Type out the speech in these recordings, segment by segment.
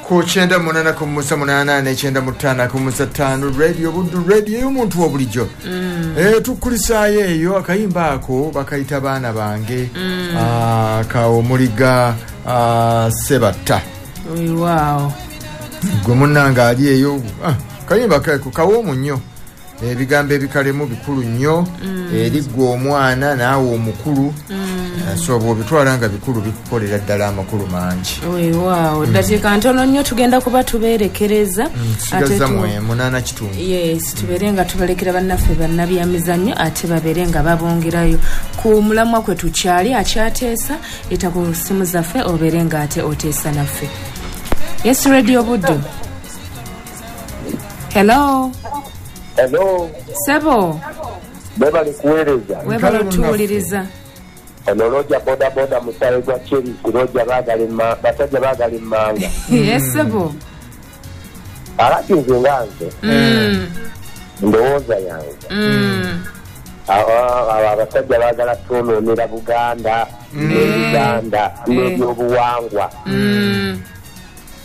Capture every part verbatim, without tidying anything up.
Ku kyenda munana ku musa munana ne kyenda mutana ku musa tano Radio Buddu, radio y'omuntu wa bulijjo. Mm. Eh tukulisaayo eyo akayimba ako bakayita baana bange. Mm. Ah ka omuliga ah, Sebatta. Wow. Gwe munnange ali eyo ah, kayimba kako kawoomu nnyo. Ebigambo ebikalemu bikulu nnyo. Mm. Eri ggwe omwana naawe omukulu. Mm. So bw'obitwala nga bikulu bikukolera ddala amakulu mangi. Weewaawo, Mm. ddakiika ntono nnyo tugenda kuba tubeerekereza. Mm, tusigazza Ate tu- mu munaana kitundu. Yes, tubeere nga tubalekera bannaffe bannabyamizannyo ate babeere nga babongerayo ku mulamwa kwe tukyali akyateesa eta ku ssimu zaffe obeere nga ate oteesa naffe. Yes, Radio Buddu. Hello. Hello. Sebo. Webale kuweereza. Webale otuwuliriza. Ono Roger boda boda musale gwa Cherisi, Roger baagala emma-, basajja baagala emmanga. Yes, sebo. Alati nze nga nze. Mm. Ndowooza yange. Mm. Aba, aba abasajja baagala twonoonera Buganda, Mm. ne Uganda, Mm. n'ebyobuwangwa. Mm.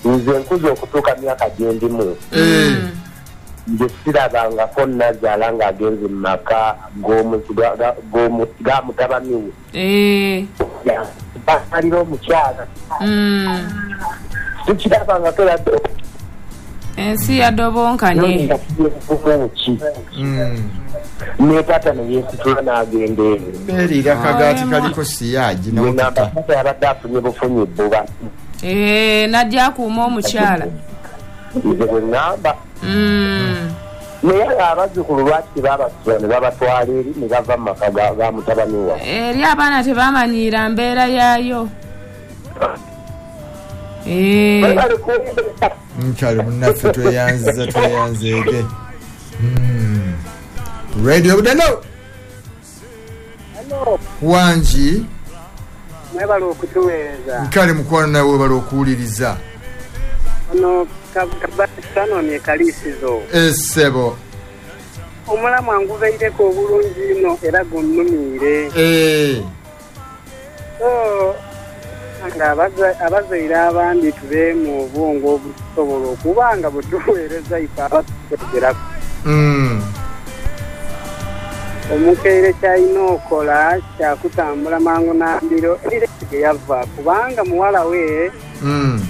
Nze nkuze okutuuka myaka gye ndimu. Mm. Nze sirabangako nnazaala ng'agenze mu maka g'omu-, ga-, ga-, g'omu-, ga mutabani we. Eh. Ya, basalira omukyala. Mm. Sikirabangako yadde. Ensi yadobonkanye. Nga tugivuga ki? Mm. Ne taata ne yeesitula n'agenda eyo. Beerira akagaati Aye, kaliko siyaagi Nze n'okutta. ngamba taata yabadde afunye bufunyi bbuba. Eh, n'ajja akuuma omukyala. Nze bwe ŋŋamba. Mm. Naye abazzukulu lwaki tebabasula ne babatwala eri ne bava mu maka ga-, ga mutabani waabwe? Eri abaana tebamanyiira mbeera yaayo. Eh. Webale kuwuliriza. Nkyali munnaffe tweyanziza, tweyanzeege. Mm. Radio Buddu. Hello. Wangi. Mwebale okutuweereza. Nkale mukwano nawe webale okuwuliriza. Ono Kabasano ne Kalisizo. Essebo. Omulamwa ngubeireko obulungi nnyo era gunnumiire. Eh. So, nga abaza-, abazaire abandi tube mu obwongo obusobola okuba nga butuweereza ife abatwegerako. Mm. Omukeire ky'alina okola kyakutambula mangu nambiro eri gye yava kubanga muwala we Mm.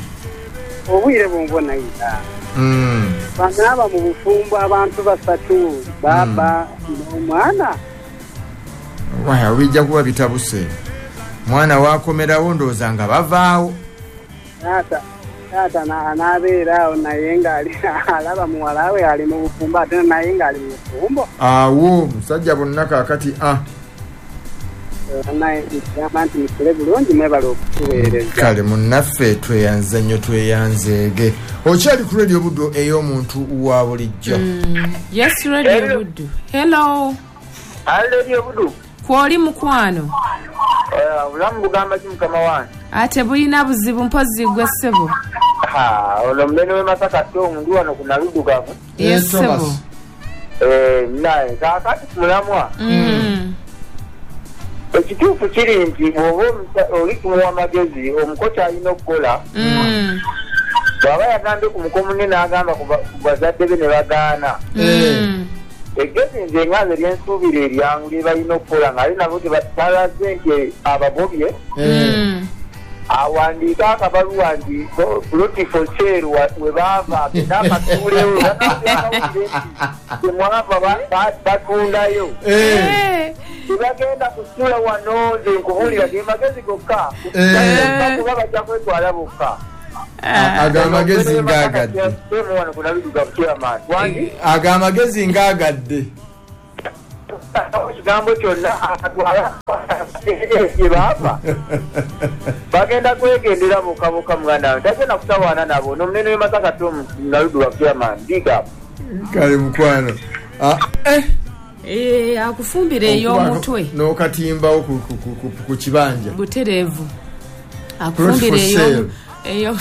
obwire bwonvona ira. Mm. Banaaba mu bufumbo abantu basatu baba Mm. n'omwana. Waya bijja kuba bitabuse. Mwana wakomerawo ndowooza nga bavaawo. Taata, taata na-, anaabeera awo naye ng'ali alaba muwala we ali mu bufumbo ate naye ng'ali mu bufumbo. Awo musajja bonna kaakati, ah. Naye ngamba nti musule bulungi mwebale okutuweereza. Kale munnaffe tweyanze nnyo tweyanzeege. Okyali ku Radio Buddu ey'omuntu wa bulijjo. Mm. Yes, Radio Hello. Buddu. Hello. Hello, Radio Buddu. Kwoli mukwano. Eh, obulamu bugamba ki mukama wange? Ate bulina buzibu mpozzi gwe ssebo. Ha, ono munene w'e Masaka Tom ndi wano ku Naluddugavu. Yes, Yes, Thomas. ssebo. Eh, naye kaakati ku mulamwa. Mm. Ekituufu kiri nti bw'oba omusa-, oli kumuwa amagezi, omuko ky'alina okukola. Mm. Bw'aba yagambye ku muko munne n'agamba ku ba-, ku bazadde be ne bagaana. Mm. Eggezi nze nga nze lye nsuubira eryangu lye balina okukola ng'ate nabo tebalaze nti abagobye. Mm. Awandiike akabaluwa nti plot for sale wa-, we baava, agende akatuulewo, banaabawulire nti temwava ba-, ba-, batundayo. Eh. Tebagenda kusula wano nze nkubuulira ge magezi gokka. Eh. Kuba bajja kwetwala bokka. A-, ago amagezi ng'agadde. Ago amagezi ng'agadde. Ekigambo kyonna atwala gye baava. Bagenda kwegendera bokka bokka muganda wange. Tagenda kutawaana nabo. N'omunene w'e Masaka Tom Naluddu wa chairman. Big up. Kale mukwano. Ah, eh. Eh, akufumbira ey'omutwe. N'okatimbawo ku, ku, ku, ku, ku kibanja. Butereevu. Plot Akufumbira for eyo sale. eyo.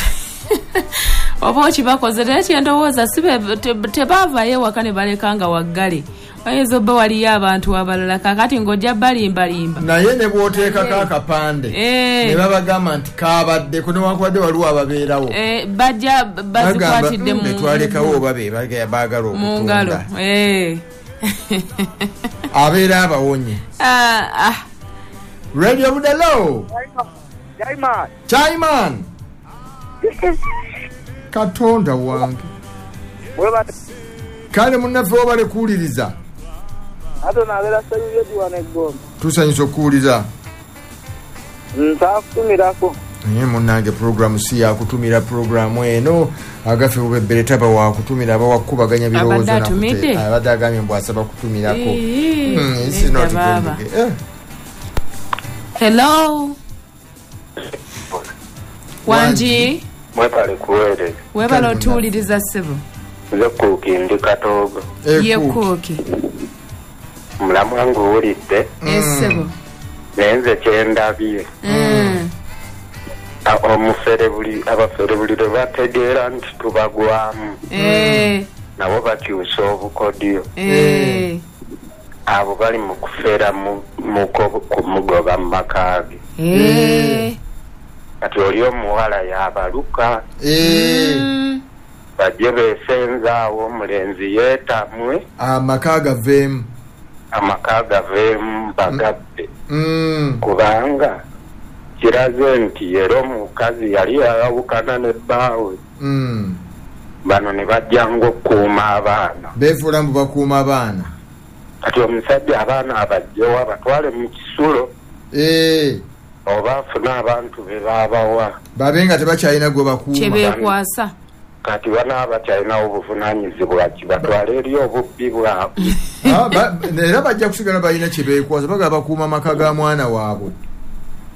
Oba okibakoze, naye kye ndowooza si be, te-, tebaavaayo ewaka ne baleka nga waggale. Ayinza obba waliyo abantu abalala kakati ng'ojja balimbalimba. Naye ne bw'oteekako akapande Eh. ne babagamba nti kabaddeko newankubadde waliwo ababeerawo. Eh, bajja bazikwatidde mu betwalekawo oba be baagala mu ngalo. okutunda. Eh. Abeera abawonye. Ah, ah. Radio Budalo. Jaiman. Chaiman. Katonda wange. Kale munnaffe wabale kuwuliriza. Ate nabeera Sseruyogi wano e Gombe. Tusanyusa okuwuliriza. Nsaakutumirako. Naye munnange puroguramu si yakutumira puroguramu eno agaffe bubebbere taba wakutumira aba wakubaganya birowoozo Abadde nakute. atumidde? Abadde agambye mbu asaba kutumirako. Ee, Hmm, this is not nedda going to baaba. get, eh. Hello. Wangi. Mwebale kuweereza. Webale otuwuliriza ssebo. Nze Kuuki ndi Katoogo. Eh, Ye Kuuki. Kuuki. Mulamu wange owulidde. Eh, ssebo. Naye nze kye ndabye. Mm. A- omufere buli abafere buli lwe bategeera nti tubagwamu. Eh. Nabo bakyusa obukodyo. Eh. Abo bali mu kufera mu-, mu ko-, kumugoba mu maka ge. Eh. Kati oli omuwala yabaluka. Eh. Mm. Bajje beesenza awo omulenzi yeetamwe. Amaka gaveemu. Amaka gaveemu bagabbe. Mm. Kubanga kiraze nti era omukazi yali yayawukana ne bbaawe. Mm. Bano ne bajjanga okukuuma abaana. Beefuula mbu bakuuma abaana. Kati omusajja abaana abajjewo abatwale mu kisulo. Eh. Oba afune abantu be baabawa. Babe nga tebakyalina gwe bakuuma. Kye beekwasa. Kati banaaba bakyalinawo obuvunaanyizibwa ki batwale eri obubbi bwabwe. Ah, ba-, era bajja kusigala balina kye beekwasa, bagala bakuuma amaka ga mwana waabwe.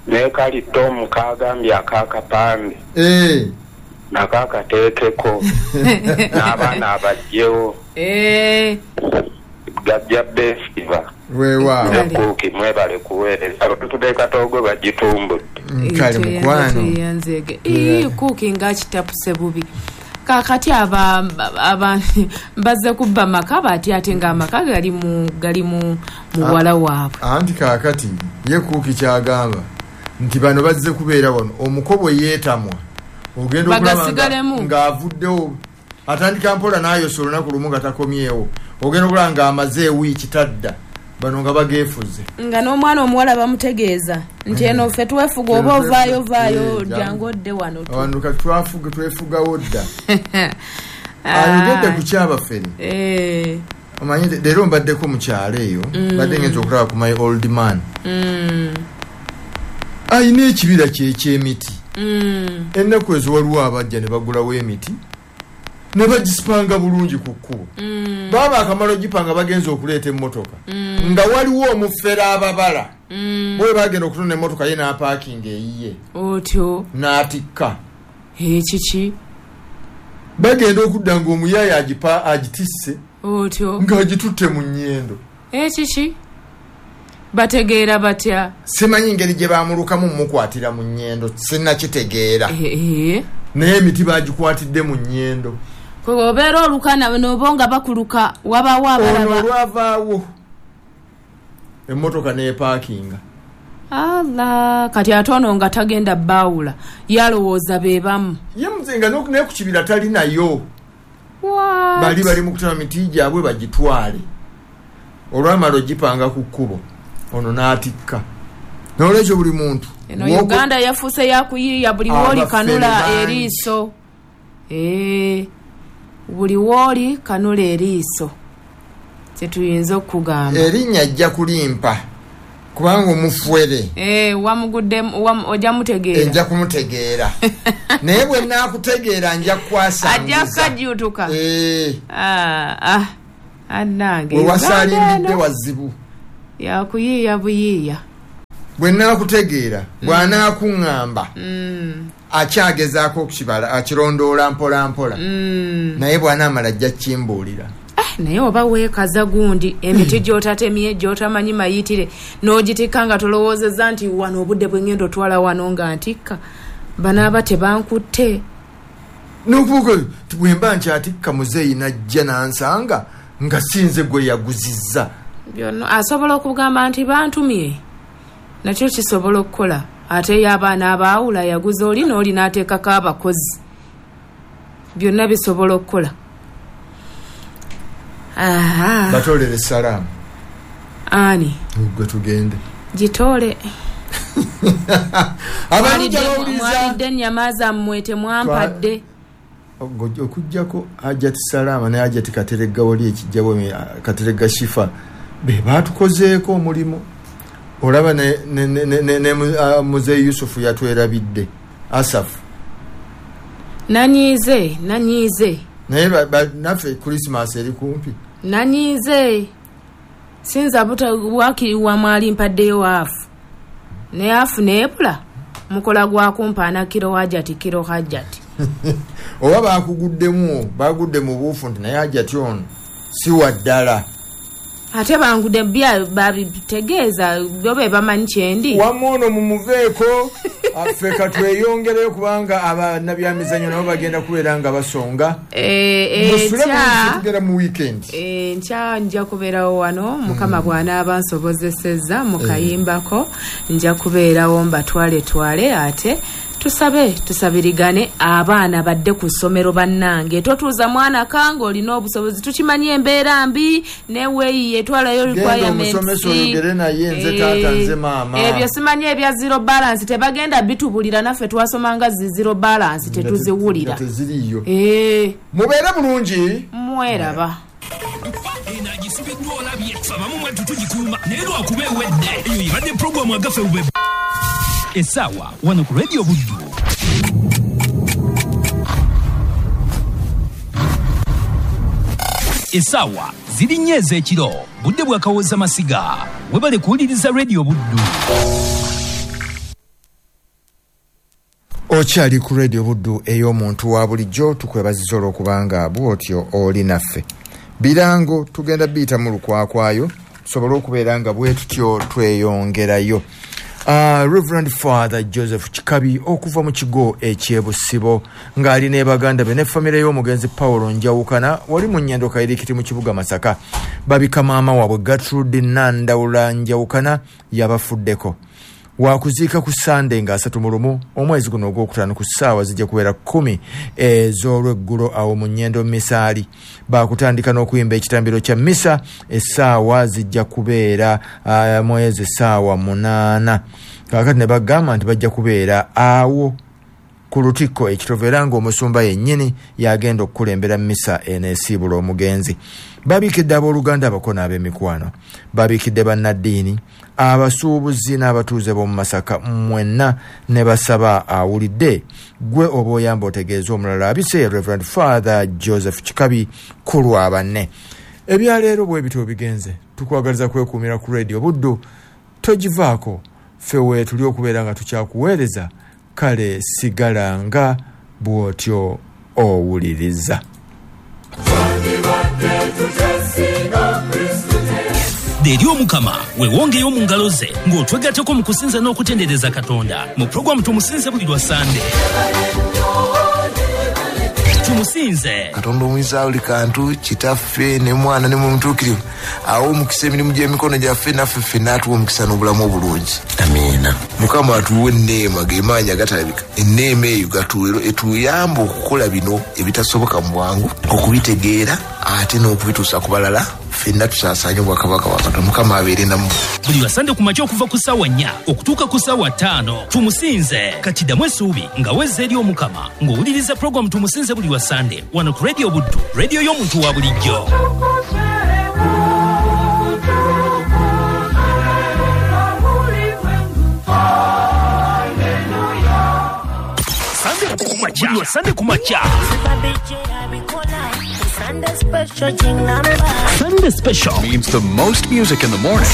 Ne kali Tom kagambye ak'akapande. Eh. Nako akateekeko. N'abaana abajjewo. Eh. Gajja beesiba. Weewaawo. Ne Kuuki mwebale kuweereza. Abantu b'e Katoogo bagitumbudde. Mm, kale Ekyo mukwano. yanzeege. Ii, Kuuki ng'akitapuse bubi. Kaakati aba, aba, bazze kubba maka bati ate ng'amaka gali mu, gali mu muwala waabwe. Anti kaakati ye Kuuki ky'agamba nti bano bazze kubeera wano omuko bwe yeetamwa ogenda okulaba nga- Bagasigalemu. ng'avuddewo atandika mpola n'ayosa olunaku lumu nga takomyewo ogenda okulaba ng'amaze ewiiki tadda bano nga bageefuze. Nga n'omwana omuwala bamutegeeza nti eno ffe twefuga oba Eno ovaayo twefuga. vaayo Eh, jangu odde wano tu. Wano kati twafuga, twefugawo dda. Ayogedde ku kyabafere. Eh. Omanyi leero mbaddeko mu kyalo eyo, Mm. mbadde ngenze okulaba ku my old man. Mm. Ayina ekibira kye eky'emiti. Mm. Ennaku ezo waliwo abajja ne bagulawo emiti ne bagisipanga bulungi ku kkubo. Mm. Baaba akamala ogipanga bagenze okuleeta emmotoka. Mm. Nga waliwo omufere ababala. Mm. Bwe bagenda okutunda emmotoka ye n'apaakinga eyiye. Otyo. N'atikka. Ekiki? Bagenda okudda ng'omuyaaye agipa-, agitisse. Otyo. Ng'agitutte mu nnyendo. Ekiki? Bategeera batya? Simanyi ngeri gye baamulukamu mmukwatira mu nnyendo, sinnakitegeera. Eh, eh. Naye emiti baagikwatidde mu nnyendo. Kwe obeera oluka na-, n'oba nga bakuluka, wabaawo abalaba. Ono olwavaawo emmotoka n'epaakinga. Allah, kati ate ono nga tagenda baawula, yalowooza be bamu. Ye muzinga n'oku-, ne ku kibira tali nayo. What? Bali bali mu kutema miti gyabwe bagitwale. Olwamala ogipanga ku kkubo, ono n'atikka. N'olwekyo buli muntu Eno w'oku- Uganda yafuuse yakuyiiya buli w'oli Abafere kanula bangi. eriiso. Eh, buli w'oli kanula eriiso. Kye tuyinza okugamba. Erinnya ajja kulimpa kubanga omufuere. Eh, wamugudde, wam-, ojja mutegeera. Nja kumutegeera. Naye bwe nnaakutegeera nja kukwasanguza. Ajja kukajjuutuka. Eh. Ah, ah. Annange, We wasaalimbidde Uganda eno. wazibu. Yakuyiiya buyiiya. Bwe nnaakutegeera, Mm. bw'anaakuŋŋamba, Mm. akyagezaako okukibala, akirondoola mpola mpola. Mm. Naye bw'anaamala ajja kukimbuulira. Eh, naye oba weekaza gundi, emiti gy'otatemye, gy'otamanyi mayitire, n'ogitikka nga tolowoozezza nti wano obudde bwe ŋŋenda otwala wano nga ntikka, banaaba tebankutte. N'okubuuka nti bwe mba nkyatikka muzeeyi n'ajja n'ansanga, Nga sinze gwe yaguzizza. Byonna asobola okugamba nti bantumye. Nakyo kisobola okukola. Ate y'abaana abaawula yaguza oli n'oli n'ateekako abakozi. Byonna bisobola okukola. Aha. Batolere salaamu. Ani? Gwe tugende. Gitole. Abalungi abawuliriza. Mwalidde ennyama zammwe temwampadde. Okuggyako Hajjati Salama ne Hajjati Kateregga wali ekijjabo Kateregga Shifa be baatukozeeko omulimu. Olaba ne, ne, ne, ne, ne uh, Muzeeyi Yusufu yatwerabidde Asafu. Nanyiize, nanyiize. Naye naffe Christmas eri kumpi. Nanyiize. Sinza buta wakiri wa mwali mpaddeyo afu. Ne afu neebula. Mukola gwa kumpaana kiro Hajjati kiro Hajjati. Oba bakuguddemu, bagudde mu buufu nti naye Hajjati ono si wa ddala. Ate bangudde bya babitegeeza bo be bamanyi kyendi. Wamma ono mumuveeko affe katweyongereyo kubanga abannabyamizannyo nabo bagenda kubeera nga basonga. Eh, eh, tugera mu weekend. Eh, nkya nja kubeerawo wano Mukama bw'anaaba nsobozesezza mu kayimbako nja kubeerawo mbatwale twale ate tusabe tusabirigane abaana badde ku ssomero bannange. Totuuza mwana kange olina obusobozi, tukimanyi embeera mbi neweeyiye etwalayo requirements. Omusomesa oyogere naye nze taata nze maama. Ebyo simanyi ebya zero balance tebagenda bitubulira, naffe twasomanga zi zero balance tetuziwulira. Teziriyo. Eh. Mubeere bulungi. Mweraba. Enagisibiddwa olabye abamu mwattu tugikuuma naye lwakuba ewedde. Eyo ebadde puroguramu agaffe bube essaawa wano ku Radio Buddu. Essaawa ziri nnya ez'ekiro, budde bwa Kawooza Masiga. Webale kuwuliriza Radio Buddu. Okyali ku Radio Buddu ey'omuntu wa bulijjo, tukwebaziza olw'okubanga bw'otyo oli naffe. Birango tugenda biyita mu lukwakwayo tusobole okubeera nga bwe tutyo tweyongerayo. Uh, Reverend Father Joseph Kikabi okuva mu kigo eky'Ebusibo ng'ali ne baganda be ne famire y'omugenzi Paulo Njawukana wali mu Nyendo Kairikiti mu kibuga Masaka. Babika maama waabwe Gertrude Nandawula Njawukana yabafuddeko. Wakuziika ku Sande nga asatu mu lumu omwezi guno ogwokutaano ku ssaawa zijja kubeera kkumi ez'olweggulo awo mu Nyendo Misaali. Baakutandika n'okuyimba ekitambiro kya misa, essaawa zijja kubeera uh, mwezi essaawa munaana. Kaakati ne bagamba nti bajja kubeera awo ku Lutikko ekitovu era ng'omusumba yennyini yagenda okukulembera misa eneesiibula omugenzi. Babiikidde abooluganda abako n'ab'emikwano, babiikidde bannaddiini, abasuubuzi n'abatuuze b'omu Masaka mwenna ne basaba awulidde gwe oba oyamba otegeeza omulala abise Reverend Father Joseph Kikabi ku lwa banne. Ebyaleero bwe bityo bigenze, tukwagaliza kwekuumira ku Radio Buddu, togivaako, ffe weetuli okubeera nga tukyakuweereza, kale sigala nga bw'otyo owuliriza. Eri Omukama weewongeyo mu ngalo ze ng'otwegatteko mu kusinza n'okutendereza Katonda mu puroguramu Tumusinze buli lwa Sande. Tumusinze Katonda omuyinza buli kantu, Kitaffe ne Mwana ne Mwoyo awo omukisa emirimu gy'emikono gyaffe naffe ffenna atuwe omukisa n'obulamu obulungi. Amiina. Mukama atuwe enneema g'emaanyi agatalabika. Enneema eyo gatuwe etuyamba okukola bino ebitasoboka mu bwangu, okubitegeera ate n'okubituusa ku balala. Ffenna tusaasaanye obwakabaka bwa Katonda. Mukama abeere nammwe. Buli lwa Sande ku makya okuva ku ssaawa nnya okutuuka ku ssaawa ttaano. Tumusinze kati ddamu essuubi nga wezza eri Omukama ng'owuliriza puroguramu Tumusinze buli lwa Sande wano ku Radio Buddu, radio y'omuntu wa bulijjo. Buli lwa Sande ku makya. Sunday special. Sunday special means the most music in the morning.